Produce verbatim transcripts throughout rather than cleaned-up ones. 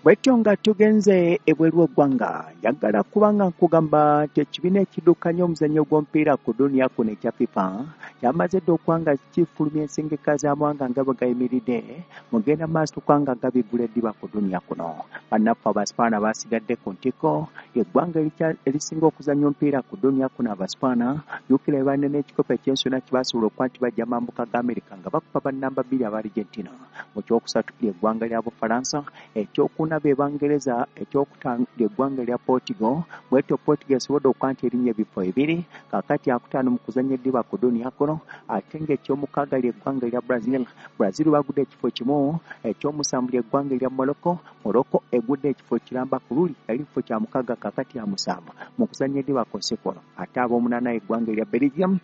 Bwetyo nga tugenze ebweru w'eggwanga, njagala kubanga nkugamba nti ekibiina ekiddukanya omuzannyo gw'omupiira ku duniya kuno ekya FIFA kyamaze dda okuba nga kifulumya ensengeka z'amawanga nga bwe gayimiridde mugenda maaso okuba nga gabigula eddiba ku duniya kuno. Bannaffe Abasipaana basigadde ku ntikko, eggwanga erisinga okuzannya omupiira ku duniya kuno Abasipaana jjukira be balina n'ekikopo eky'ensi yonna kye basobola okuba nti bajja mambuka ga Amerika nga bakuba bannamba bbiri aba Argentina. Mu kyokusatu ly'eggwanga lya Bufalansa, ekyokuna be Bangereza, ekyokutaano ly'eggwanga lya Portugal. Bwetyo Portugal esobodde okuba nti erinnya ebifo ebiri kaakati yakutaano mu kuzannya eddiba ku duniya kuno, ate ng'ekyomukaaga ly'eggwanga lya Brazil. Brazil bagudde ekifo kimu. Ekyomusanvu ly'eggwanga lya Morocco. Morocco egudde ekifo kiramba, ku luli yali kifo kya mukaaga, kaakati ya musanvu mu kuzannya eddiba ku nsi kuno. Ate ab'omunaana eggwanga erya Belgium,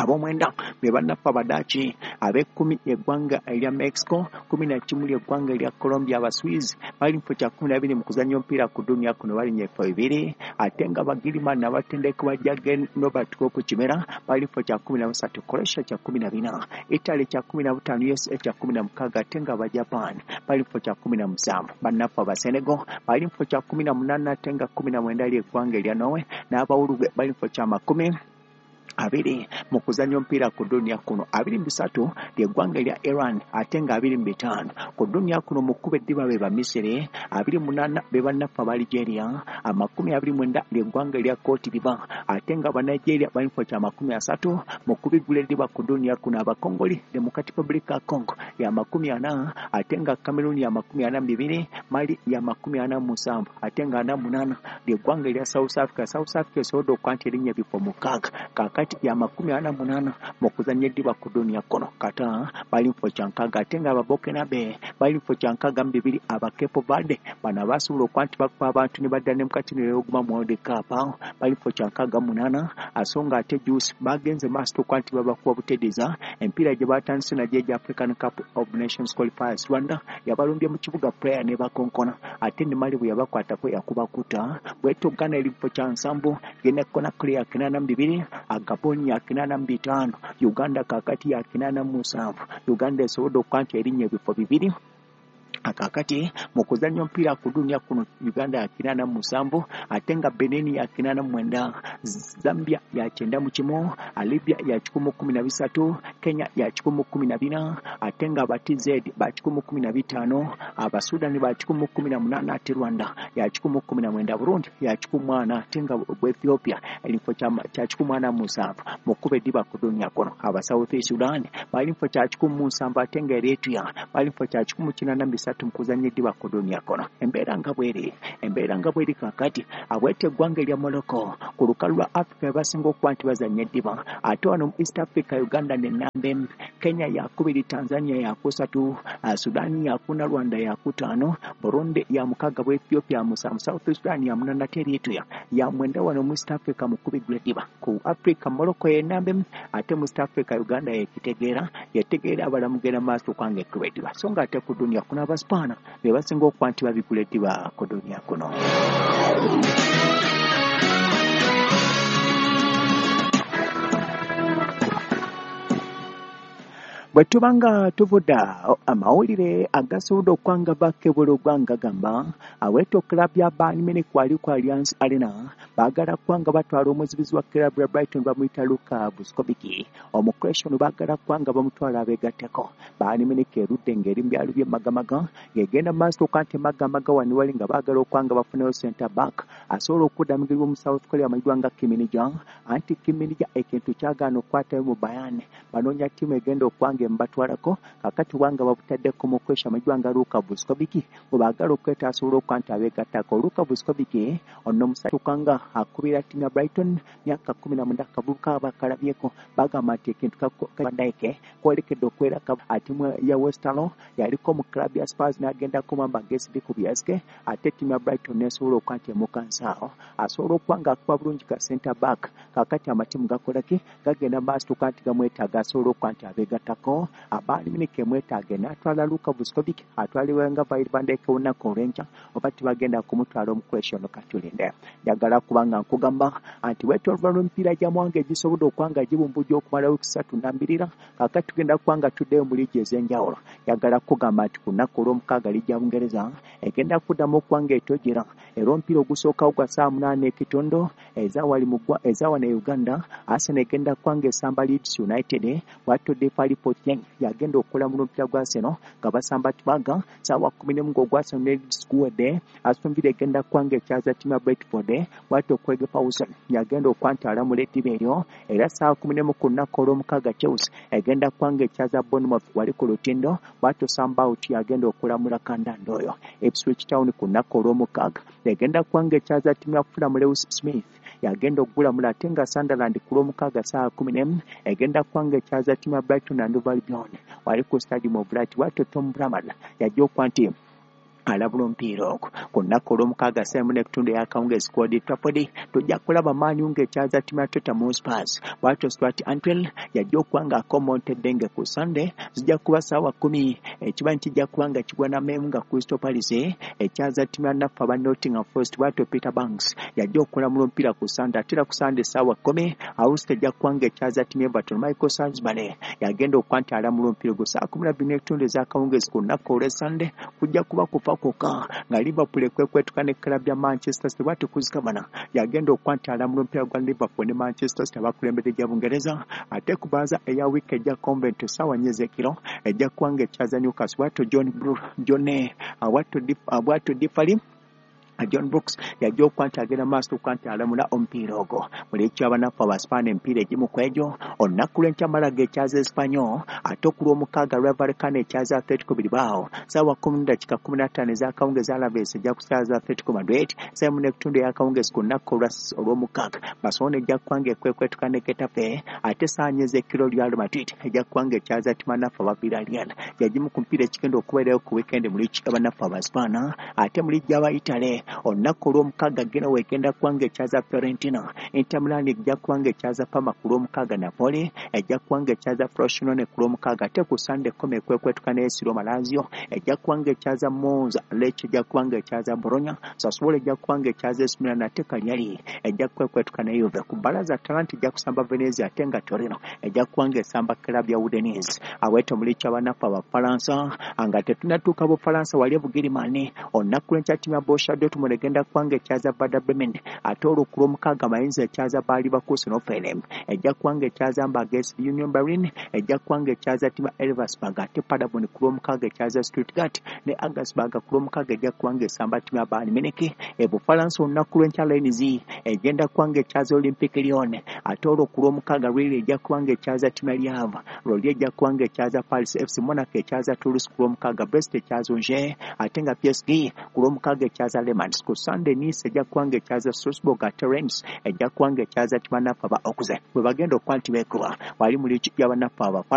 ab'omwenda be bannaffe Abadaaki, ab'ekkumi eggwanga erya Mexico, kumi na kimu ly'eggwanga erya Colombia. Abaswiss bali mu kifo kya kkumi na bibiri mu kuzannya omupiira ku duniya kuno, balinnya ebifo bibiri, ate nga Bagirimani abatendekebwa Jurgen Robert Klopp Kimera bali mu kifo kya kkumi na busatu, Croatia kya kkumi na bina, Italy kya kkumi na butaano, U S A kya kkumi na mukaaga, ate nga Abajapan bali mu kifo kya kkumi na musanvu. Bannaffe Abasenegal bali mu kifo kya kkumi na munaana, ate nga kkumi na mwenda ly'eggwanga erya Norway, n'Abawulugwe bali mu kifo kya makumi abiri mu kuzannya omupiira ku duniya kuno. Abiri mu bisatu ly'eggwanga erya Iran, ate nga abiri mu bitaano ku duniya kuno mu kkuba eddiba be Bamisiri, abiri munaana be bannaffe aba Algeria, amakumi abiri mwenda ly'eggwanga erya Cote d'Ivoire, ate nga Abanigeria bali mu kifo kya makumi asatu mu kubigula eddiba ku duniya kuno. Abakongoli, Democratic Republic ya Congo ya makumi ana, ate nga Cameroon ya makumi ana mu bibiri, Mali ya makumi ana mu musanvu, ate nga ana munaana ly'eggwanga erya South Africa. South Africa esobodde okuba nti erinnya ebifo mukaaga, kaakati ya makumi ana munaana mu kuzannya eddiba ku duniya kuno. Kata bali mu kifo kya nkaaga, ate nga Ababurkinabe bali mu kifo kya nkaaga mu bibiri. Aba Cape Verde bano abasobola okuba nti bakuba abantu ne badda ne mukati ne beeguma mu World Cup bali mu kifo kya nkaaga mu munaana, so nga ate juice bagenze maaso okuba nti babakuba butereeza. Emipiira gye batandise nagyo egya African Cup of Nations qualifiers, Rwanda yabalumbye mu kibuga Praia ne bakonkona, ate ne Mali bwe yabakwatako yakuba kuta. Bwetyo Ghana eri mu kifo kya nsanvu, Guinea Conakry ya kinaana mu bibiri, Gabon ya kinaana mu bitaano, Uganda kaakati ya kinaana mu musanvu. Uganda esobodde okuba nti erinnya ebifo bibiri kaakati mu kuzannya omupiira ku duniya kuno. Uganda ya kinaana mu musanvu, ate nga Benin ya kinaana mu mwenda, Zambia ya kyenda mu kimu, Libya ya kikumi mu kkumi na bisatu, Kenya ya kikumi mu kkumi na bina, ate nga aba T Z ba kikumi mu kkumi na bitaano, Abasudani ba kikumi mu kkumi na munaana, ate Rwanda ya kikumi mu kkumi na mwenda, Burundi ya kikumi mu ana, ate nga Ethiopia ekifo kya kikumi mu ana mu musanvu mu kkuba eddiba ku duniya kuno. Aba South Sudan bali mu kifo kya kikumi mu nsanvu, ate nga Eritrea bali mu kifo kya kikumi mu kinaana mu bisatu mu kuzannya eddiba ku duniya kuno. Embeera nga bweri, embeera nga bweri kaakati abweta eggwanga erya Morocco ku lukalu lwa Africa basinga okuba nti bazannya eddiba, ate wano mu East Africa Uganda nenamba emu, Kenya yakubiri, Tanzania yakusatu, Sudan yakuna, Rwanda yakutaano, Burundi ya mukaaga, bwa Ethiopia musanvu, South Sudan ya munaana, ate Eritrea ya mwenda. Wano mu East Africa mu kubigula eddiba ku Africa Morocco yenamba emu, ate mu East Africa Uganda yekitegeera yetegeera abalamugenda maaso okwanga ekkuba eddiba, so nga ate ku duniya kuno Abaspaana be basinga okuba nti babigula eddiba ku duniya kuno. Bwe tuba nga tuvudde amawulire agasobodde okuba nga bakebula ogwanga gamba aweeto club ya Bayern Munich kwali ku Allianz Arena baagala kuba nga batwala omuzibizi wa club ya Brighton bamuyita Luka Vuskovic, Omucroatian. Baagala kuba nga bamutwala abeegatteko. Bayern Munich erudde ng'eri mu byalo by'e Magamaga ng'egenda maaso okuba nti Magamaga wano wali nga baagala okuba nga bafuneyo center back asobola okuddamigirwa mu South Korea amanyiddwa nga Kim Min-jae. Anti Kim Min-jae ekintu kyagaana okukwatayo mu Bayern, banoonya ttiimu egenda okuba nga emubatwalako. Kakati wanga babutaddeko mu Croatia amanyiddwa nga Luka Vuskovic bwe baagala okweta asobola okuba nti abeegattako. Luka Vuskovic ono omusajja okanga akubira ttiimu ya Brighton myaka kkumi na mwenda, akavubuka bakalabyeko bagamba nti ekintu Van kwolekedde okwera atimu ya Westerlo, yaliko mu club ya Spurs n'agendako mwamba G S Kubiaske, ate ttiimu ya Brighton nesobola okuba nti emukansaawo asobola okuba nga akuba bulungi ka center back. Kakati amatiimu gakola ki? Gagenda maaso okuba nti gamwetaaga asobola okuba nti abeegattako. ogwo Bayern Munich emwetaaga n'atwala Luka Vuskovic atwalibwa nga Virgil van Dijk olunaku olw'enkya oba tibagenda kumutwala omukwesha ono katulinde. Njagala kubanga nkugamba anti wetolva lw'emipiira gy'amawanga egisobodde okwanga gibumbujja okumala wiiki ssatu nambirira kaakati tugenda kubanga tuddeyo mu liigi ez'enjawulo. Njagala kugamba nti ku lunaku olw'omukaaga liigi ya Bungereza egenda kuddamu okuba nga etojera era omupiira ogusookawo gwa ssaawa munaana ekitundu ezawano e Uganda Arsenal egenda kuba nga esamba Leeds United bw'atyo Depay Potieng yagenda okulamula omupiira gwa Arsenal nga basamba Tbaga ssaawa kkumi n'emu ng'ogwa Arsenal ne Leeds guwedde. Aston Villa egenda kuba nga ekyaza ttiimu ya Brentford bw'atyo Craig Pawson yagenda okuba nti alamula eddiba eryo era ssaawa kkumi n'emu ku lunaku olw'omukaaga Chelsea egenda kuba nga ekyaza Bournemouth wali ku lutindo bw'atyo Sam Bout yagenda okulamula kandanda oyo. Ipswich Town ku lunaku olw'omukaaga egenda kuba nga ekyaza ttiimu ya Fulham Lewis Smith yagenda okugulamula ate nga Sunderland ku lw'omukaaga ssaawa kkumi n'emu egenda kuba nga ekyaza ttiimu ya Brighton and Hove Albion wali ku Stadium of Light bw'atyo Tom Bramall yajja okuba nti alabula omupiira ogwo. Ku lunaku olw'omukaaga ssaawa emu n'ekitundu ey'akawungeezi ku Old Trafford tujja kulaba Man U ng'ekyaza ttiimu ya Tottenham Hotspur bw'atyo Stuart Antwell yajja okuba ng'akomonta eddenge ku Sunday zijja kuba ssaawa kkumi ekiba nti kijja kuba nga kigwa nameemu nga Crystal Palace ekyaza ttiimu ya naffe aba Nottingham Forest bw'atyo Peter Banks yajja okulamula omupiira ku Sunday ate era ku Sunday ssaawa kkumi Auster ejja kuba ng'ekyaza ttiimu ya Everton Michael Salisbury yagenda okuba nti alamula omupiira ogwo ssaawa kkumi na bbiri n'ekitundu ez'akawungeezi ku lunaku olw'e Sunday kujja kuba kufa kwokka nga Liverpool ekwekwetuka ne club ya Manchester City bw'atyo Kuzikabana yagenda okuba nti alamula omupiira gwa Liverpool ne Manchester City abakulembedde gya Bungereza ate ku bbaza eya wiiki ejja Coventry ssaawa nnya ez'ekiro ejja kuba ng'ekyaza Newcastle bw'atyo John John bw'atyo Diffali John Brooks yajja okuba nti agenda maaso okuba nti alamula omupiira ogwo. Mu liigi y'abanafu Abaspaani emipiira egimu ku egyo olunaku lw'enkya Malaga ekyaza Espanyol ate ku lw'omukaaga Rayo Vallecano ekyaza Atletico Bilbao ssaawa kkumi n'eddakiika kkumi na ttaano ez'akawungeezi Alaves ejja kusaaza Atletico Madrid ssaawa emu n'ekitundu ey'akawungeezi ku lunaku olw'omukaaga Barcelona ejja kuba nga ekwekwetuka ne Getafe ate ssaawa nnya ez'ekiro Real Madrid ejja kuba nga ekyaza ttiimu ya aba Villarreal. Yagimu ku mipiira ekigenda okubeerayo ku weekend mu liigi y'abanafu Abaspaani ate mu liigi y'aba Italy olunaku olw'omukaaga Genoa egenda kuba nga ekyaza Fiorentina, Inter Milan ejja kuba nga ekyaza Parma ku lw'omukaaga, Napoli ejja kuba nga ekyaza Frosinone ku lw'omukaaga ate ku Sunday Como ekwekwetuka ne A S Roma, Lazio ejja kuba nga ekyaza Monza, Lecce ejja kuba nga ekyaza Bologna, Sassuolo ejja kuba nga ekyaza A C Milan ate Cagliari ejja kwekwetuka ne Juve. Ku bbalaza Atalanta ejja kusamba Venezia ate nga Torino ejja kuba nga esamba club ya Udinese. Aweto mu liigi y'abanafu Abafalansa nga tetunnatuuka Bufalansa wali e Bugirimaani olunaku lw'enkya ttiimu ya Borussia Dortmund egenda kuba nga ekyaza Werder Bremen ate olwo ku lw'omukaaga Mainz ekyaza Bayer Leverkusen Hoffenheim ejja kuba nga ekyaza Hamburg S V Union Berlin ejja kuba nga ekyaza ttiimu ya Elversberg ate Paderborn ku lw'omukaaga ekyaza Stuttgart ne Augsburg ku lw'omukaaga ejja kuba nga esamba ttiimu ya Bayern Munich. E Bufalansa olunaku lw'enkya Rennes egenda kuba nga ekyaza Olympique Lyon ate olwo ku lw'omukaaga Lille ejja kuba nga ekyaza ttiimu ya Le Havre, Lorient ejja kuba nga ekyaza Paris F C, Monaco ekyaza Toulouse ku lw'omukaaga, Brest ekyaza Angers ate nga P S G ku lw'omukaaga ekyaza Le Mans. Ku Sunday Nice ejja kuba nga ekyaza Strasbourg ate Reims ejja kuba nga ekyaza ttiimu ya aba Auxerre bwe bagenda okuba nti beekuba wali mu liigi y'abanafu Abafalansa.